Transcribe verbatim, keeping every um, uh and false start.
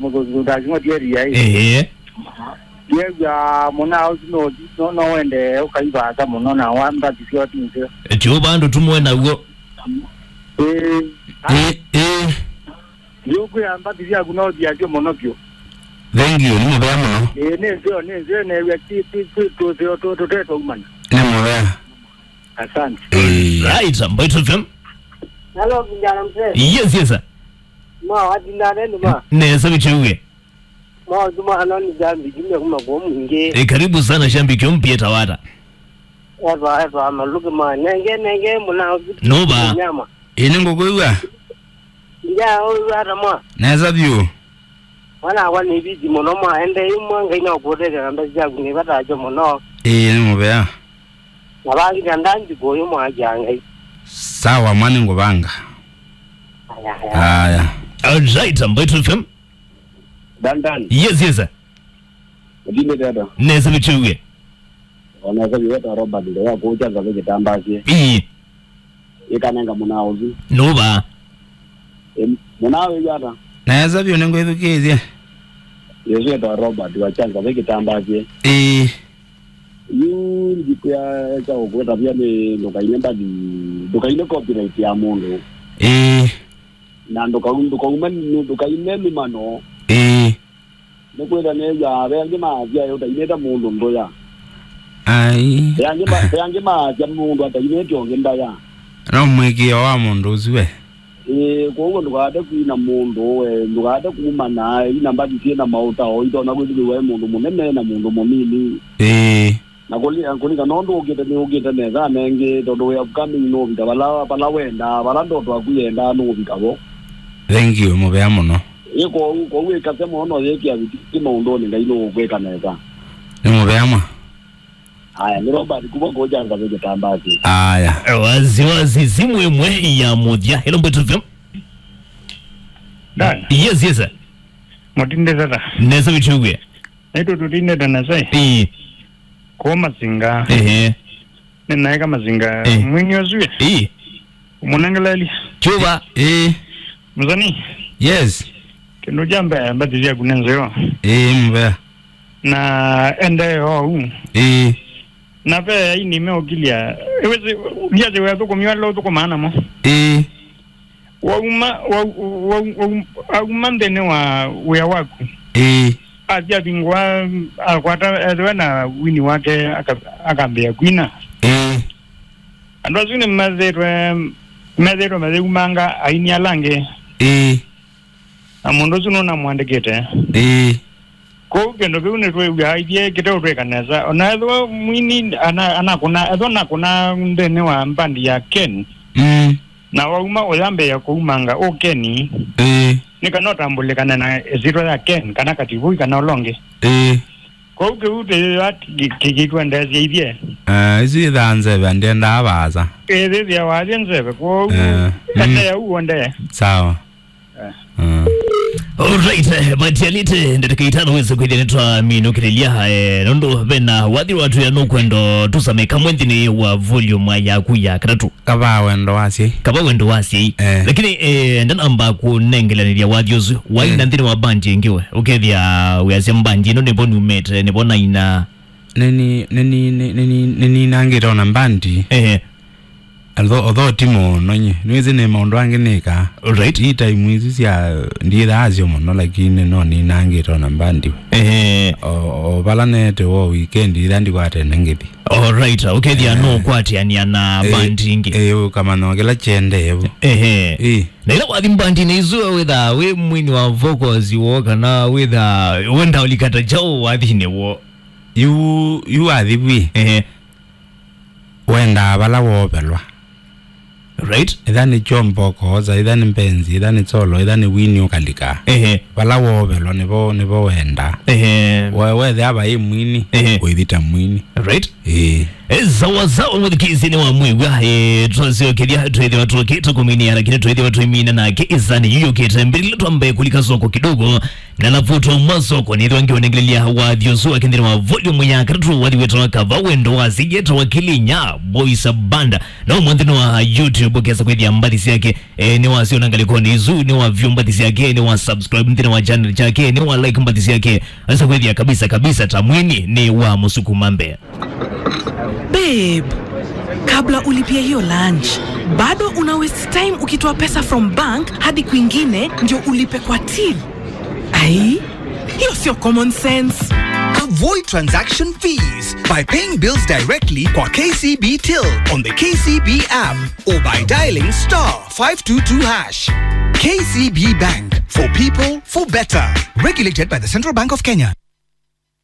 Mũthũngũ ndaking'otie ria ĩ. Ĩĩ. Ndiew'a mũna ũsu no, no, no wende ũkaivasa mũno na wambathi syo ti nzeo. Ti ũvandu tumwe naw'o. Ĩĩ. Ĩĩ, ĩĩ. Ndiũkwĩa mbathi syaku no thiasyo mũno vyũ. Thank you, nĩ mũvea mũno. Ĩĩ, nĩ nzeo, nĩ nzeo, new'a ti, ti, ti, tũseo tũ, tũtetwaumana. Nĩ mũvea. Asante. Ĩĩ. Right, Mbaitũ F M. Hello, vijana mzee. Yes, yes, sir. Ma, watinda nenu ma. Nesa vichewie. Ma, tuma hano ni jambi, jumbe kuma kwa mwingi. E, karibu sana shabiki mpya Tawata. Eva, eva, maluke ma. Nenge, nenge, muna. Nova. Nyama. Ĩĩ, nĩngũkwĩw'a. Nja, ũyũ ata mwa. Nesa vyũ. Mwana wakwa nĩ viti mũno mwa, ende imwe Ngai no kũtethya na mbesa syaku nĩ vata ajo mũno. Ĩĩ, nĩ mũvea. Na vangi na ndanji kũyũ mwa ya Ngai. Sawa, mwa nĩngũvanga. Aya, aya. Aya. All right, Mbaitũ F M. Dan Dan. Yes, yes, sir. Ũtindĩte ata? Nesa vichewie. Ona kazi weta Robert ndio ya kucha ngabe kitambasye. Ii. Ikanenga mũnao ũsu. Nova. Em, mũnao wĩ ata? Nesa vyũ nĩngwĩthukĩĩsye. Yesu weta Robert wa changa ngabe kitambasye. Ii. Yu ndikwĩa cha kukweta pia ni ndukaine mbathi, ndukaine copyright ya mũndũ. Ii. Na ndũkau-, ndũkaume, ndũkaine mĩmano. Ĩĩ. Nĩkwĩtha nĩw'aa ve angĩ maasya ũtainĩte mũndũ ndũya. Ai. Ve angĩ ma-, ve angĩ maasya mũndũ atainĩte ũngĩ ndaya. No mwĩkĩo wa mũndũ ũsu we. Ĩĩ, kwoou ndũkaate kwina mũndũ we, ndũkaate kumana, ina mbathi syĩ na maũtao, itonya kwĩthukĩĩwa ĩ mũndũ mũnene na mũndũ mũnini. Ĩĩ. Na kũli-, kũlingana na ũndũ ũkĩte, nĩ ũkĩte nesa nengĩ, tondũ wĩ upcoming nũvika vala, vala wendaa, vala ndoto yaku yendaa nũvika vo. Thank you, mũvea mũno. Ĩ kwoou, kwoou ĩkase mũno, no yĩkĩa viti maũndũnĩ, Ngai nũũkwĩka nesa. Nĩ mũvea mwa. Aya, nĩ Robert kuma kũja ngathĩ kĩtambaa kĩ. Aya. Wazi wazi, simu ĩmwe ya mũthya. Hello, Mbeto F M. Dan. Yes, yes, sir. Mũtindĩte ta. Nesa vichewie. Naitũ tũtindĩte nesa ĩ. Ĩĩ. Kũũ Masinga. Ehe. Nĩnaeka Masinga. Eh. Mwini ũsu ĩ. Ĩĩ. Ũmũnengeleli. Chuva. Ĩĩ. Mũsani. Yes. Kĩndũ kya mbee mbathi syaku nĩ nzeo. Ĩĩ, mũvea. Na ende ou. Ĩĩ. Na ve aini meũkilya. Ĩwĩsĩ, ndiasĩ wĩathũkũmĩwa ala ũthũkũmaa namo. Ĩĩ. Wauma, wa-, wa-, wa-, auma nthĩnĩ wa wĩa waku. Ĩĩ. Athi avingũa, akwata, ethĩwa na wini wake, aka-, akambĩĩa kwina. Ĩĩ. Andũ asu nĩmethĩtwe, methĩtwe mayĩumanga aini ala angĩ. Ĩĩ. Na mũndũ ũsu nũnamũandĩkĩte. Ĩĩ. Kwoou kĩndũ kĩu nĩtwĩw'aa ithyĩ kĩteũtwĩka nesa. O na ethĩwa mwini ana-, anakũna, ethĩwa nakũna nthĩnĩ wa mbandi ya Ken, mm, na wauma ũyambĩĩa kũumanga ũ Ken, ĩĩ, nĩ kana ũtambũlĩkane na ĩsyĩtwa ya Ken, kana Kativui, kana ũla ũngĩ. Ĩĩ. Kwoou kĩu tĩyĩwa kĩ-, kĩ-, kĩtwendeesye ithyĩ. Ah, isu ithaa nzeve, ndiendaa vaasa. Ĩthĩthĩa wathye nzeve, kwoou, eh, mm, endeea ũu ũendee. Sawa. Mm. Alright, eh, matialite ndatĩka itano wĩse kwĩthĩa nĩtwaminũkĩlĩlya, eh, nũndũ vena wathi watwĩa nũkwendo tũsame kamwe nthĩnĩ wa volume yaku ya katatũ. Kavaa wendo wa asyai. Kavaa wendo wa asyai. Eh. Lakini, eh, ndanamba kũnengelanĩlya wathi ũsu. Waina, eh, nthĩnĩ wa bandi ĩngĩ we. Ũkethĩa wĩasya bandi ĩno nĩvo numĩte, nĩvo naina. Nĩni, nĩni, nĩni, nĩni, nĩninangĩte ona bandi. Ehe. Although, although ti mũno nye. Nĩwĩsĩ nĩ maũndũ angĩ nĩkaa. Alright. Ii time isu sya, ndiĩthaa asyo mũno, lakini no ninangĩte ona bandi. Ehe. O, o vala neete wo weekend, itha ndikwatene ngĩthi. Alright, ũkethĩa, eh, no ũkwatĩanĩa na, eh, bandi ingĩ. Eh, ũkamanya kĩla kyendee vo. Ehe. Ii. Na ĩla wathi bandinĩ isu, wĩthaa wĩ mwini wa vocals wo, kana wĩthaa wenda ũlikata kyaũ wathinĩ wo? Yu, yu wathi vwi. Ehe. Wendaa vala woovelwa. Right. Ĩtha nĩ chombo ũkoosa, ĩtha nĩ mbenzi, ĩtha nĩ solo, ĩtha nĩ wini ũkalika. Ehe. Vala woovelwa nĩvo, nĩvo wendaa. Ehe. We, wethĩa vai mwini, ehe, ũithi ta mwini. Right. Ĩĩ. E, sawa sawa, mũthikĩĩsya nĩ wa mwĩw'a. E, twasyokelia, twĩthĩwa tũkĩ tũkũminia, lakini twĩthĩwa tũimina nake ĩsanĩ yu yũkĩte. Mbĩlĩla twambe kũlika soko kidogo, na alafu twauma soko nĩthwa ngĩonengelelia wathi ũsu wa kĩnthĩnĩ wa volume ya katatũ, wathi wĩtawa Kava Wendo wa Sijeta wa Kilinya Boys Band. Na ũmwe nthĩnĩ wa YouTube ũkesa kwĩthĩa mbathi syake. E, nĩ wasyona ngalĩkonĩ isu, nĩ wa view mbathi syake, nĩ wa subscribe nthĩnĩ wa channel chake, nĩ wa like mbathi syake. Asa kwĩthĩa kabisa kabisa ta mwini nĩ wa mũsukuma mbee. Babe, kabla ulipie hiyo lunch, bado una waste time ukitoa pesa from bank hadi kwingine ndio ulipe kwa till. Ai, hiyo sio common sense. Avoid transaction fees by paying bills directly kwa K C B Till on the K C B app or by dialing star five two two hash. K C B Bank, for people, for better. Regulated by the Central Bank of Kenya.